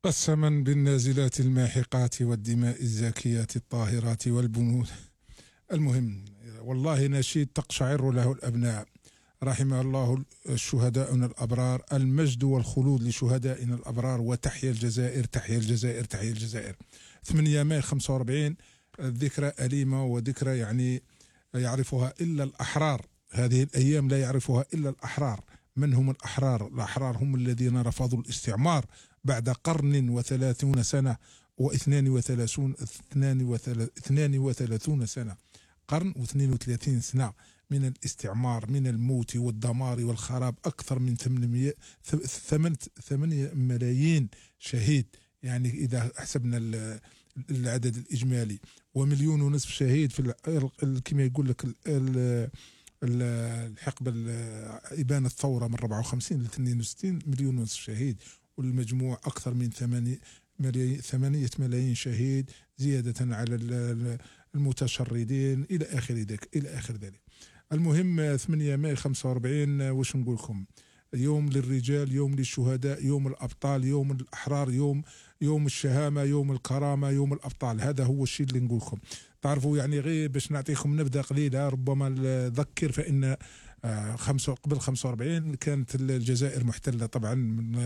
قسما بالنازلات الماحقات والدماء الزاكيات الطاهرات والبنود. المهم، والله نشيد تقشعر له الأبناء. رحم الله شهداؤنا الأبرار، المجد والخلود لشهدائنا الأبرار، وتحيا الجزائر تحيا الجزائر تحيا الجزائر. 8 ماي 45 ذكرى أليمة، وذكرى يعني يعرفها إلا الأحرار. هذه الأيام لا يعرفها إلا الأحرار. من هم الأحرار؟ الأحرار هم الذين رفضوا الاستعمار بعد قرن و30 سنة و32 سنة، قرن و32 سنة من الاستعمار، من الموت والدمار والخراب. أكثر من 8 ملايين شهيد، يعني إذا حسبنا العدد الإجمالي، ومليون ونصف شهيد في كما يقول لك الحقبة إبان الثورة من 54 ل 62. مليون ونصف شهيد، والمجموع أكثر من 8 ملايين شهيد، زيادة على المتشردين إلى آخر ذلك. المهم 8 ماي 45 واش نقول لكم؟ يوم للرجال، يوم للشهداء، يوم الأبطال، يوم الأحرار، يوم الشهامة، يوم الكرامة، يوم الأبطال. هذا هو الشيء اللي نقول لكم. تعرفوا يعني غير باش نعطيكم نبذة قليلة، ربما نذكر، فإن قبل 45 كانت الجزائر محتلة طبعا من